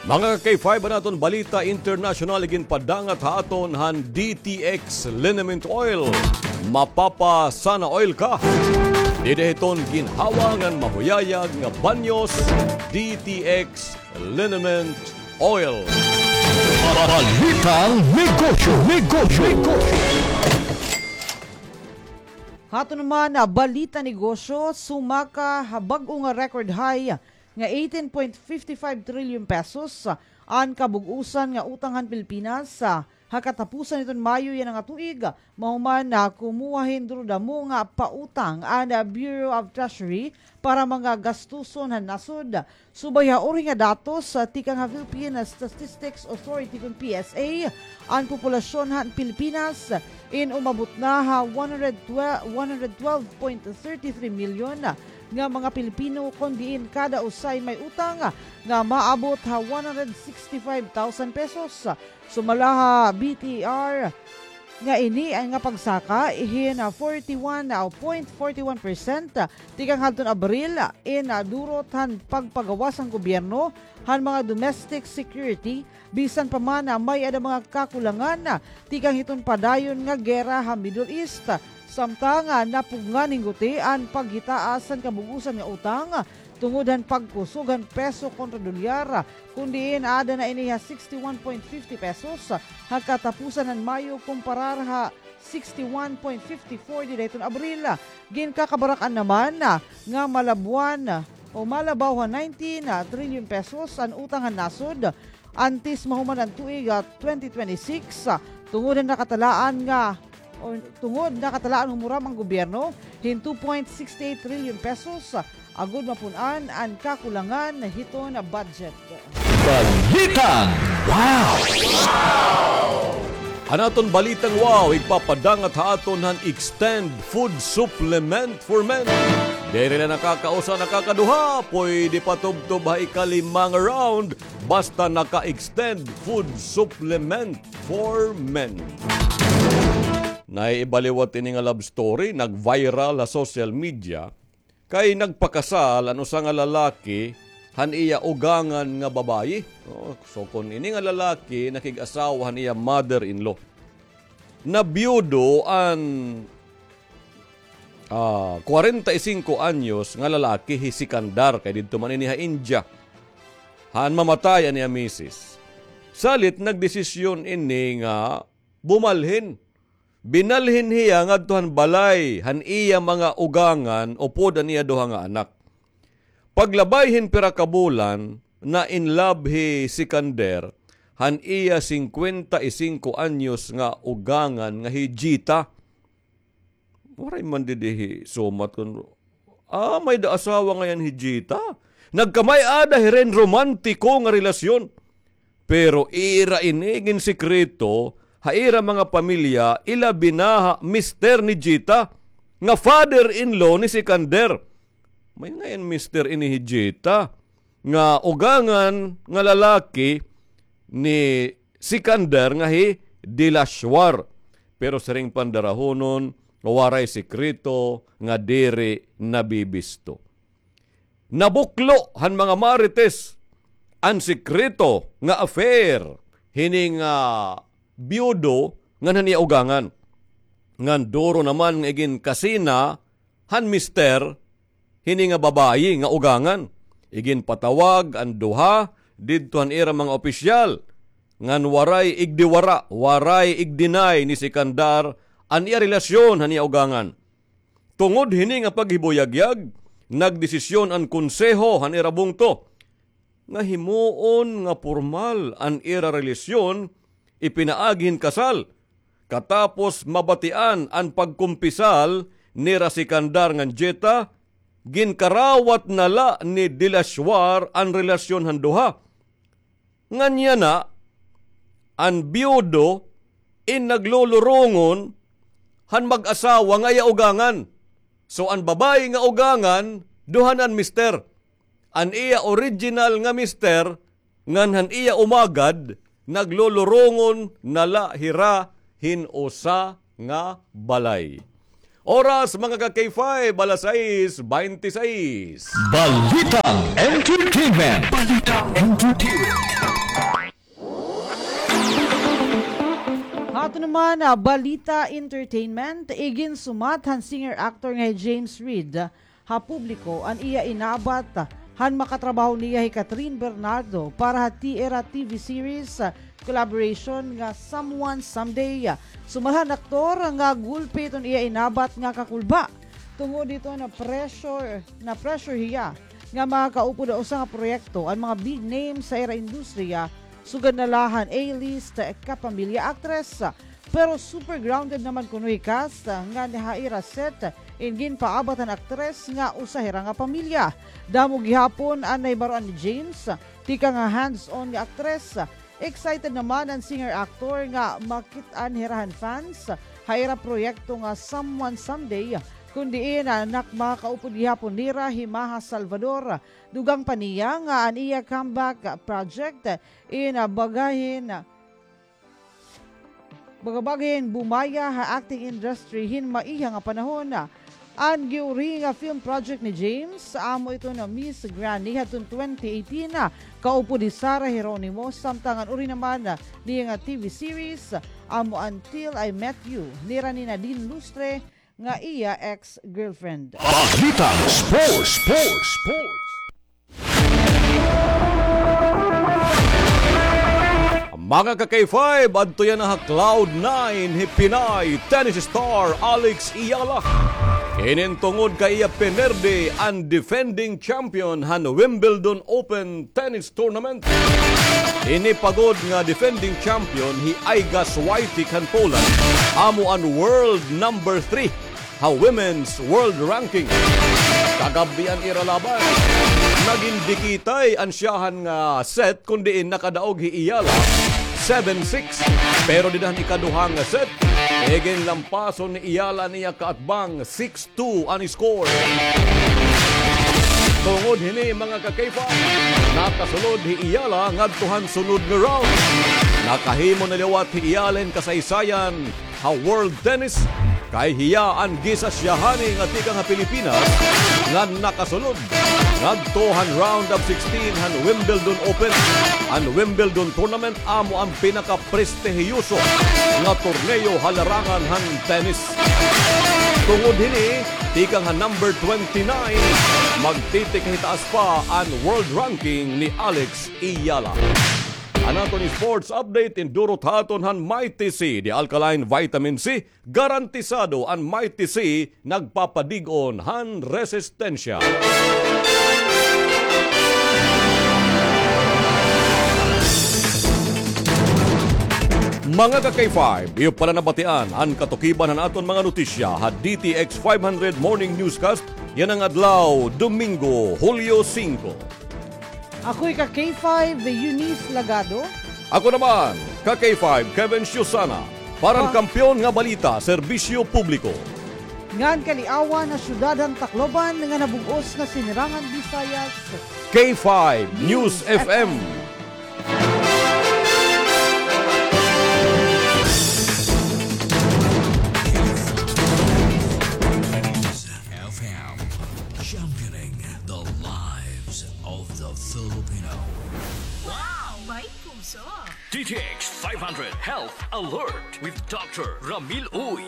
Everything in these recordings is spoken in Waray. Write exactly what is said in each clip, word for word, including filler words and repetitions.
Mga ka-K five, an aton balita internasyonal iginpadangat ha aton han D T X Liniment Oil. Mapapa-sana oil ka. Dida hiton ginhawa ngan mahuyayag nga banyos, D T X Liniment Oil. Balitang negosyo, negosyo, negosyo. Hato naman, ah, balita negosyo, sumaka ha bag-o nga record high nga eighteen point fifty five trillion pesos, ah, an kabug-osan nga utang han Pilipinas, ah, ha katapusan hiton Mayo yana nga tuig, mahuman na kumuha hin durodamo nga pautang an, ah, Bureau of Treasury para mga gastuson han nasod. Subay ha uri nga datos, ah, tikang ha Philippine Statistics Authority kun P S A, an populasyon han Pilipinas in umabot na ha one hundred twelve, one hundred twelve point thirty three million nga mga Pilipino, kon diin kada usa in may utang nga maabot ha one hundred sixty five thousand pesos. Sumala ha B T R nga ini nga pagsaka hin forty one point forty one percent tikang hadton Abril in durot han pagpagawas han gobyerno han mga domestic security, bisan pa man may-ada mga kakulangan tikang hiton padayon nga gera ha Middle East. Samtang napugngan hin gutian paghitaas han kabug-osan nga utang tungod han pagkusog han peso kontra dolyar, kun diin aada na ini ha sixty one point fifty pesos ha katapusan han Mayo kumparar ha sixty one point fifty four dida hiton Abril. Ginkakabarak-an naman nga malabwan o malabaw ha nineteen trillion pesos an utang han nasod antes mahuman an tuig, ah, twenty twenty-six, ah, tungod han nakatalaan nga, o tungod nakatalaan humurab an gobyerno hin two point six eight trillion pesos, ah, agod mapun-an an kakulangan hiton budget. Balitang wow! An aton balitang wow, igpapadangat ha aton han Extend Food Supplement for Men. Diri la nakakausa, nakakaduha, pwede patubtob ha ikalima nga round, basta naka-Extend Food Supplement for Men. Naiibaliwat ini nga love story, nag-viral ha social media, kay nagpakasal an usa nga lalaki han iya ugangan nga babayi. O, so, kon ini nga lalaki nakig-asawa han iya mother-in-law. Nabiyudo an, ah, kwarenta y singko anyos nga lalaki, hi Sikandar, kay didto man ini ha India. Han mamatay an iya misis. Salit nagdesisyon ini nga bumalhin. Binalhin hiya ngadto han balay han iya mga ugangan upod an iya duha nga anak. Paglabay hin pira ka bulan, na-in love hi Sikander han iya singkwenta y singko anyos nga ugangan nga hi Jita. Waray man didi hi sumat kon, ah, may-ada asawa ngay-an hi Jita. Nagkamay-ada hira hin romantiko nga relasyon. Pero ira ini ginsikreto ha ira mga pamilya, ilabi na ha mister ni Jita, nga father-in-law ni Sikander. May ngay-an mister ini hi Jita, nga ugangan nga lalaki ni Sikander nga hi Dilashwar. Pero siring pa han darahunon, waray sikreto nga diri nabibisto. Nabuklo han mga Marites an sikreto nga affair hini nga biyudo ngan han iya ugangan. Ngan duro naman nga iginkasina han mister hini nga babayi nga ugangan. Iginpatawag an duha didto han ira mga opisyal, ngan waray igdiwara, waray igdinay ni Sikandar an iya relasyon han iya ugangan. Tungod hini nga paghibuyagyag, nagdesisyon an konseho han ira bungto nga himuon nga pormal an ira relasyon, ipinaagi hin kasal. Katapos mabatian an pagkumpisal nira Sikandar ngan Jita, ginkarawat na la ni Dilashwar an relasyon han duha. Ngan yana, an biyudo in naglulurongon han mag-asawa nga iya ugangan. So, an babayi nga ugangan, duha na an mister. An iya original nga mister, ngan han iya umagad, naglulurongon na la hira hin usa nga balay. Oras, mga ka-K five, alas sais baynte sais. Balitang entertainment. Balitang entertainment. Naman, ah, balita entertainment, iginsumat han singer-actor nga hi James Reid ha publiko an iya inabat han makatrabaho niya hi Kathryn Bernardo para ha Tierra T V series, ah, collaboration nga Someone Someday. Sumala han aktor nga gulpi iton iya inabat nga kakulba. Tungod dito na pressure, na pressure hiya nga makaupod ha usa nga proyekto an mga big names sa ira industriya, sugad na la han A-list kapamilya aktres. Pero super grounded naman kuno hi cast nga ha ira set, in ginpaabot han aktres nga usa hira nga pamilya. Damo gihapon an nahibaroan ni James, tikang ha hands-on nga aktres. Excited naman an singer-actor nga makit-an hira han fans ha ira proyekto nga Someone Someday, kun diin, ah, nak-, makakaupod gihapon nira hi Maja Salvador. Dugang pa niya nga an iya comeback project in, ah, bagahin, baga-bagahin bumaya ha acting industry hin maiha nga panahon. An giuri nga film project ni James, amo iton Miss Granny hadton twenty eighteen, kaupod hi Sarah Geronimo, samtang an uri naman niya nga T V series, amo an Till I Met You, nira ni Nadine Lustre, nga iya ex-girlfriend. Balitang Sports, Sports, Sports. Mga ka-K five, adto yana ha cloud nine hi Pinay tennis star Alex Eala. Inin tungod kay iya pinerde an defending champion han Wimbledon Open Tennis Tournament. Ini pa gud nga defending champion hi Iga Swiatek han Poland, amo an world number three ha women's world ranking. Kagab-i an ira laban, nagin dikitay an syahan nga set, kun diin nakadaog hi Eala seven six. Pero dida han ikaduha nga set, iginlampason ni Eala an iya kaatbang, six two an score. Tungod hini, mga ka-K five, nakasulod hi Eala ngadto han sunod nga round. Nakahimo na liwat hi Eala hin kasaysayan ha world tennis, kay hiya an gisa syahani nga tikang ha Pilipinas nga nakasulod ngadto han round of sixteen han Wimbledon Open. An Wimbledon tournament amo an pinakaprestihiyoso nga torneo ha larangan han tennis. Tungod hini, tikang ha number twenty-nine, magtitikahitaas pa an world ranking ni Alex Eala. An aton sports update, indurot ha aton han Mighty C, the alkaline vitamin C. Garantisado an Mighty C, nagpapadig-on han resistensya. Mga ka-K five, iyo pa la nabatian an katukiban han aton mga notisya ha D T X five hundred Morning Newscast yana nga adlaw, Domingo, Hulyo singko. Ako ika K five, Eunice Lagado. Ako naman, ka K five, Kevin Siusana. Para han Kampiyon nga Balita, Serbisyo Publiko ngan Kaliawan ha syudad han Tacloban ngan ha bug-os nga Sinirangan Visayas, K five News F M. F M, championing the lives of the Filipino. Wow! May puso! D T X five hundred Health Alert with Doctor Ramil Uy.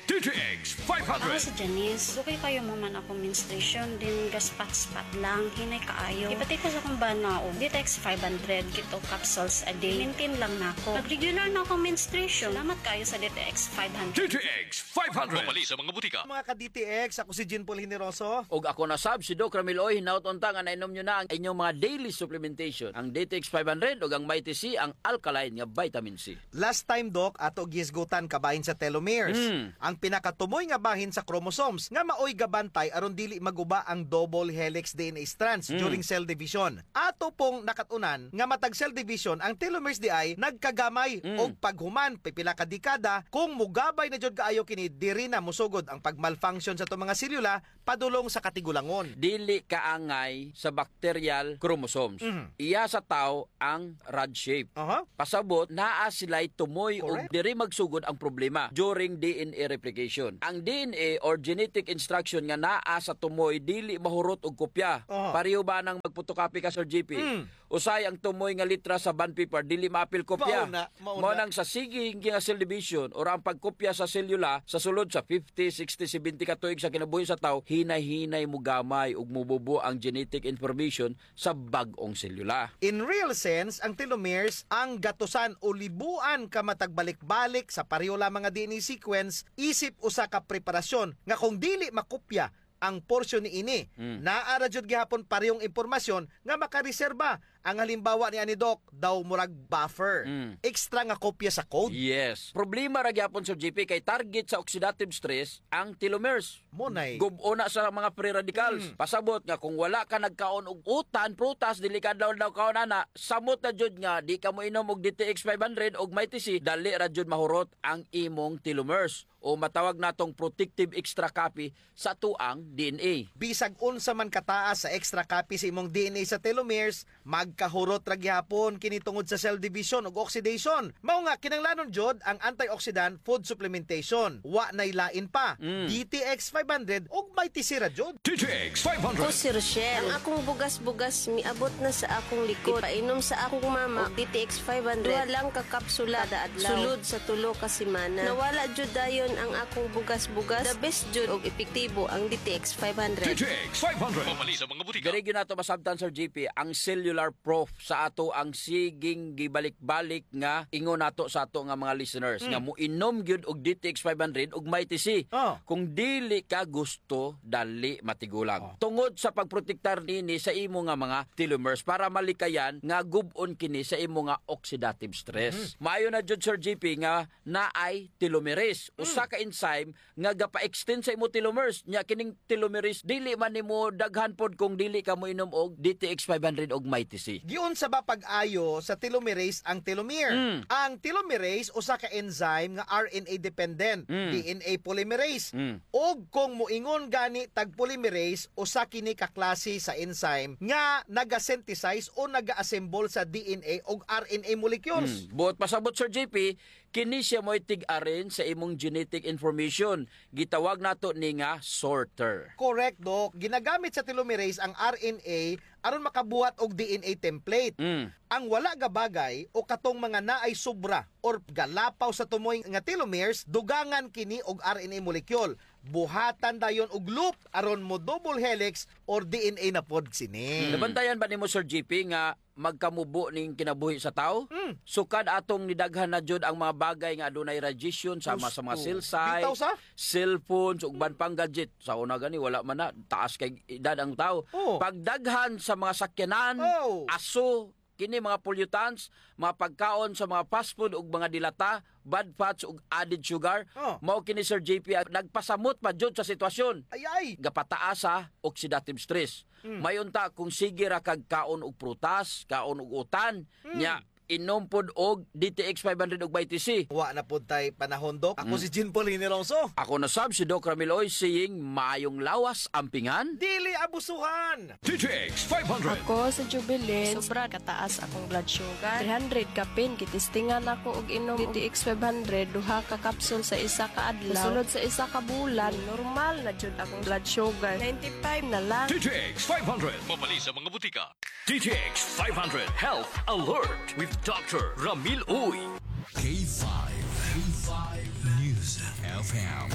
D T X five hundred. Ako si Janice. Dugay kaayo mahuman akon menstruation, then gaspat-spat lang, hinay kaayo. Ipatikos akon bana og D T X five hundred, Keto capsules a day. Maintain lang nako. Nag-regular na akon menstruation. Salamat kaayo sa D T X five hundred. D T X five hundred. Mapalit sa mga butika. Mga ka-D T X, ako si Jean Paul Generoso. Ug ako na sab, si Doc Ramil Uy. Hinaot unta nga nainom nyo na ang inyong mga daily supplementation, ang D T X five hundred ug ang Mighty C, ang alkaline nga vitamin C. Last time, Doc, ato gihisgutan kabahin sa telomeres. Mm. Ang pinakatumoy nga bahin sa chromosomes nga maoy gabantay aron dili maguba ang double helix D N A strands, mm, during cell division. Ato pong nakat-unan nga matag cell division, ang telomeres diay nagkagamay, mm, og paghuman pipila ka dekada. Kung mogabay na jud kaayo kini, diri na mosugod ang pagmalfunction sa atong mga selula padulong sa katigulangon. Dili kaangay sa bacterial chromosomes. Mhm. Iya sa tawo ang rod shape. Aha. Pasabot, naa sila'y tumoy ug, correct, diri magsugod ang problema during D N A replication. Ang D N A or genetic instruction nga naa sa tumoy dili mahurot og kopya. Aha. Pareho ba nang magpotokopy ka, Sir G P? Mm. Usahay ang tumoy nga litra sa bond paper, dili maapil kopya. Mao na, mao na. Mao nang sa sige nga cell division, or ang pagkopya sa selula sa sulod sa fifty, sixty, seventy ka tuig sa kinabuhi sa tawo, hinay-hinay mogamay ug mobubo ang genetic information sa bag-ong selula. In real sense, ang telomeres, ang gatusan o libuan ka matag balik-balik sa pareho lamang nga D N A sequence, isip usa ka preparasyon nga kung dili makopya ang porsyon niini, mm, naa ra jud gihapon parehong impormasyon nga makareserba. Ang halimbawa niani, Doc, daw murag buffer. Mm. Extra nga kopya sa code. Yes. Problema ra gihapon, Sir G P, kay target sa oxidative stress ang telomeres. Mao nay. Gub-on na sa mga free radicals. Mm. Pasabot nga kung wala ka nagkaon og utan, prutas, dili ka adlaw-adlaw kaon ana, samot na jud nga di ka moinom og D T X five hundred og Mighty C, dali ra jud mahurot ang imong telomeres, o matawag natong protective extra copy sa atoang D N A. Bisag unsa man kataas sa extra copy sa imong D N A sa telomeres, magkahurot ra gihapon kini tungod sa cell division ug oxidation. Mao nga kinahanglanon jud ang antioxidant food supplementation. Wa nay lain pa, mm, D T X five hundred ug Mighty C ra jud. D T X five hundred. Ako si Rochelle. Ang akong bugas-bugas miabot na sa akong likod. Ipainom sa akong mama og D T X five hundred. Duha lang ka kapsula kada adlaw. Sulod sa tulo ka semana. Nawala jud dayon ang akong bugas-bugas. The best jud og epektibo ang D T X five hundred. D T X five hundred. Pamali sa mga butika. Diri gyud nato masabtan, Sir G P, ang cellular proof sa atoang siging gibalik-balik nga ingon nato sa ato nga mga listeners, mm, nga moinom gyud og D T X five hundred ug Mighty C. Oh. Kung dili ka gusto, dali matigulang. Oh. Tungod sa pagprotektar nini sa imo nga mga telomeres para malikayan nga gub-on kini sa imo nga oxidative stress. Mm. Maayo na jud, Sir G P, nga naay telomerase, mm, usa ka enzyme nga gapa-extend sa imo telomeres. Nya kining telomerase, dili man nimo daghan pod kung dili ka moinom og D T X five hundred og Mighty C. Giunsa ba pag-ayo sa telomerase ang telomere? Mm. Ang telomerase, usa ka enzyme nga R N A dependent, mm, D N A polymerase. Mm. Ug kung moingon gani tag polymerase, usa kini ka klase sa enzyme nga naga-synthesize o naga-assemble sa D N A ug R N A molecules. Mm. Buot pasabot, Sir G P, kini siya mo'y tig-arrange sa imong genetic information. Gitawag nato ni nga sorter. Correct, Doc. Ginagamit sa telomerase ang R N A aron makabuhat og D N A template. Mm. Ang wala gabagay o katong mga naay sobra or galapaw sa tumoy nga telomeres, dugangan kini og R N A molecule. Buhatan dayon og loop aron mo double helix or D N A na pod sini. Mm. Nabantayan ba nimo, Sir G P, nga magkamubo ning kinabuhi sa tawo? Mm. Sukad atong nidaghan na jud ang mga bagay nga adunay radiation, sama sa mga cell site, cellphones, ug uban pang gadget. Sa una gani, wala man na, taas kay edad ang tawo. Oh. Pagdaghan sa mga sakyanan, oh, aso, kini mga pollutants, mga pagkaon sa mga fast food ug mga dilata, bad fats ug added sugar. Oh. Mao kini, Sir J P, ang nagpasamot pa jud sa sitwasyon. Ay, ay. Gapataas sa oxidative stress. Mm. May unta kung sige ra kag kaon og prutas, kaon og utan, mm, nya inom pod og D T X five hundred ug Mighty C. Wa na pod tay panahon, Doc. Ako, mm, si Jean Paul Hinilongso. Ako na sab si Doc Ramil Oy, saying, maayong lawas, ampingan. Dili abusuhan. D T X five hundred. Ako si Jubilin. Sobra kataas akong blood sugar. Three hundred kapin, gitistingan ako og inom D T X five hundred, duha ka capsule sa isa ka adlaw. Sulod sa isa ka bulan, normal na jud akong blood sugar. Ninety-five na lang. D T X five hundred. Mabali sa mga butika. D T X five hundred Health Alert with Doctor Ramil Uy. K five, K five News F M,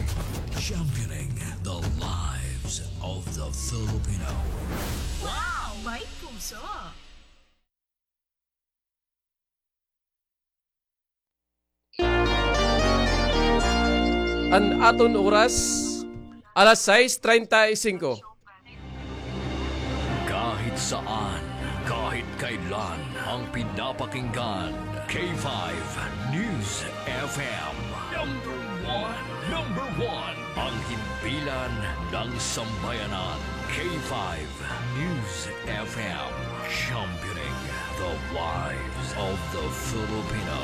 championing the lives of the Filipino. Wow! May puso! An aton oras, alas sais treinta y cinco. Kahit saan, kahit kailan, ang pinapakinggan, K five News F M. Number one, number one, ang himpilan ng sambayanan, K five News F M, championing the lives of the Filipino.